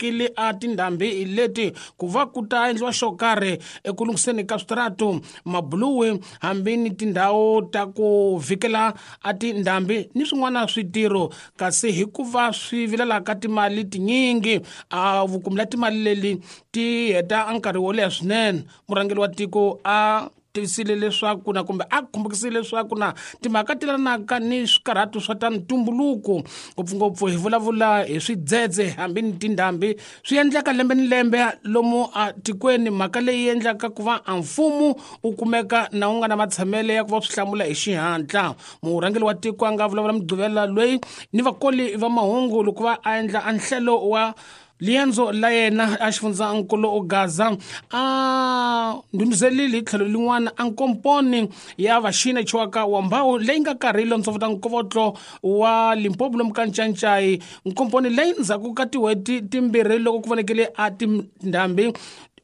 Kile a tindhambi leti ku va ku ta endliwa xo karhi eku lunghiseni ka switaratu, mabuluwi, hambi ni tindhawu ta ku vhikela a tindhambi ni swin'wana switirho. Kasi hikuva swi vilelaka timali tinyingi, a vukumela timali leli ti heta nkarhi wo leha swinene. Murhangeri wa tiko a tivisile leswaku na kumbe a khumbukisile leswaku na timhaka ti lelanaka ni swikarhato swa ta ntumbuluko, ngopfungopfu hi vulavula hi swidzedze hambi ni tindhambi, swi endleka lembe ni lembe lomu a tikweni, mhaka leyi endlaka ku va a mfumo wu kumeka na wu nga na matshamele ya ku va swi hlamula hi xihatla. Murhangeri wa tiko a nga vulavula Mugqivela loyi ni vakoli va mahungu loko va a endla a nhlelo wa liendzo la yena a xifundzankulu Gaza, a ndhundhuzelile hi tlhelo lin'wana a nkomponi ya vaxina chiwaka wa mbawu leyi nga karhi lontsovota nkovotlo wa Limpopo lomu ka Ncancai, nkomponi leyi ndzhaku ka tin'hweti timbirhi loko ku vonekele a tindhambi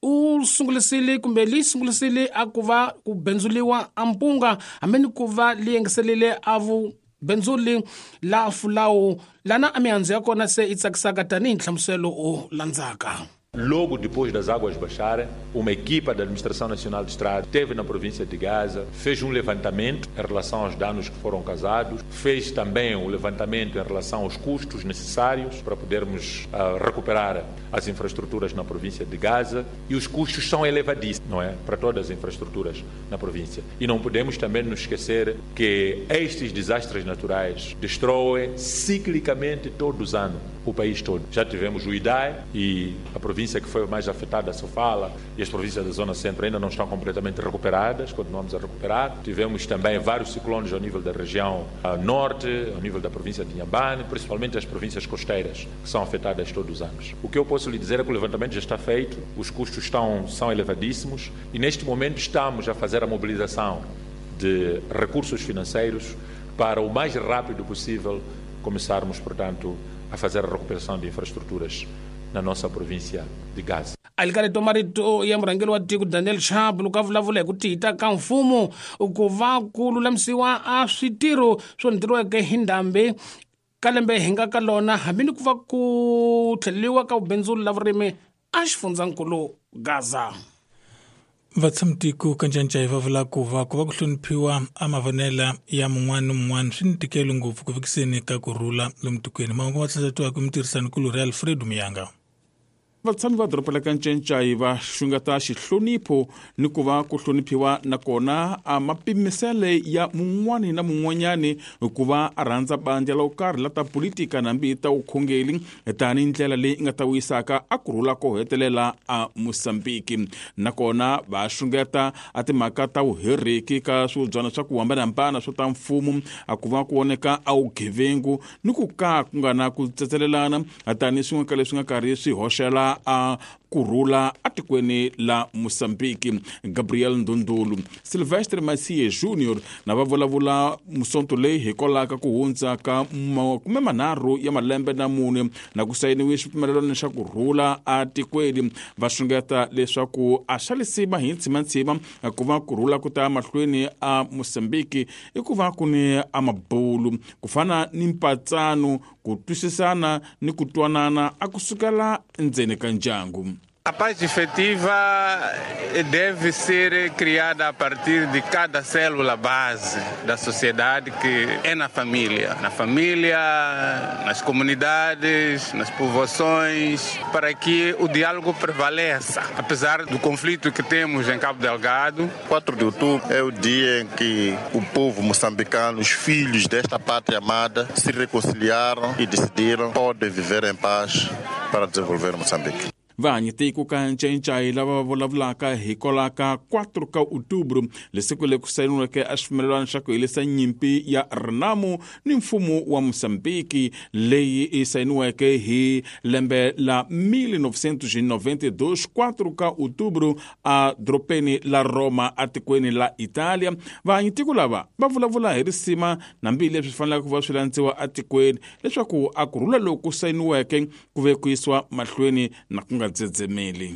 u sungulisile kumbe li sungulisile a ku va ku bendzuliwa a mpunga, hambi ni ku va li yengiselile a vu bendzuli la fulawu lana a mihandzu ya kona se yi tsakisaka tanihi nhlamuselo o landzaka. Logo depois das águas baixarem, uma equipa da Administração Nacional de Estrada esteve na província de Gaza, fez um levantamento em relação aos danos que foram causados, fez também um levantamento em relação aos custos necessários para podermos recuperar as infraestruturas na província de Gaza, e os custos são elevadíssimos, não é? Para todas as infraestruturas na província. E não podemos também nos esquecer que estes desastres naturais destroem ciclicamente todos os anos o país todo. Já tivemos o Idai e a província que foi mais afetada, Sofala, e as províncias da Zona Centro ainda não estão completamente recuperadas, continuamos a recuperar. Tivemos também vários ciclones ao nível da região norte, ao nível da província de Inhambane, principalmente as províncias costeiras, que são afetadas todos os anos. O que eu posso lhe dizer é que o levantamento já está feito, os custos são elevadíssimos e neste momento estamos a fazer a mobilização de recursos financeiros para o mais rápido possível começarmos, portanto, a fazer a recuperação de infraestruturas na nossa província de Gaza. Alikareto marito ya murhangeri wa tiko Daniel Chapo loko a vulavula hi ku tihita ka mfumo ku va ku lulamisiwa a switirho swo ntirhiweke hi ndhambi ka lembe hi nga ka lona, hambi ni ku va ku tlheleriwa ka vubindzuli la vurimi a xifundzankulu Gaza. Vatshamitiko ka Ncancai va vula ku va ku va ku hloniphiwa a mavonela ya mun'wana ni mun'wana swi ni ntikelo ngopfu ku fikiseni ka ku rhula lomu tikweni. Mahungu ma tlhatlhatiwaka mutirhisanikulorhi Alfredo Muyanga. Vatshami va doroba la ka Ncancai va xungeta xihlonipho ni ku va ku hloniphiwa nakona a mapimisele ya mun'wani na mun'wanyani ku va a rhandza bandla lo karhi la ta politika nambi ta vukhongeri tanihi ndlela leyi nga ta vuyisaka a ku rhula ko hetelela a Mosambiki. Nakona va xungeta a timhaka ta vuheriki ka swivubyana swa ku hambanahambana swo ta mfumo, a ku va ku voneka a vugevengu ni ku ka ku nga na ku tsetselelana tanihi swin'we ka leswi nga karhi swi hoxela a ku rhula atikweni la Mosambiki. Gabriel Ndundulu, Silvestre Masie Junior na va vulavula musonto leyi hikwalaho ka ku hundza ka 30 ya malembe na mune na ku sayiniwe xipfumelelano xa ku rhula atikweni, va xungeta leswaku a xa lisima hi ntshimantsima ku va ku rhula ku ta mahlweni a Mosambiki i ku va ku ni a mabulu ku fana ni mpatsano, ku twisisana ni ku twanana a ku sukela ndzeni ka ndyangu. A paz efetiva deve ser criada a partir de cada célula base da sociedade, que é na família. Na família, nas comunidades, nas povoações, para que o diálogo prevaleça. Apesar do conflito que temos em Cabo Delgado. 4 de outubro é o dia em que o povo moçambicano, os filhos desta pátria amada, se reconciliaram e decidiram poder viver em paz para desenvolver Moçambique. Vahanyitiko ka Ncancai lava va vulavulaka hikwalaho ka 4 ka outubro, lesiku leri ku sayiniweke a xipfumelelano xa ku herisa nyimpi ya Renamo ni mfumo wa Mosambiki leyi yi sayiniweke hi lembe la 1992, 4 ka outubro a doropeni la Roma atikweni la Italia. Vahanyitiko lava va vulavula hi risima nambi leswi fanelaka ku va swi landziwa atikweni leswaku a ku rhula loku sayiniweke ku ve ku yisiwa mahlweni na ku nga dzedzemeli.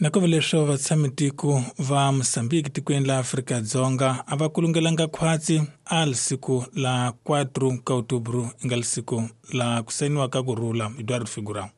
Nakuva leswo vatshamitiko va Mosambiki tikweni la Afrika-Dzonga a va kulungelanga khwatsi a lisiku la 4 ka outubro i nga lisiku la ku sayiniwa ka ku rhula. Eduardo Figurão.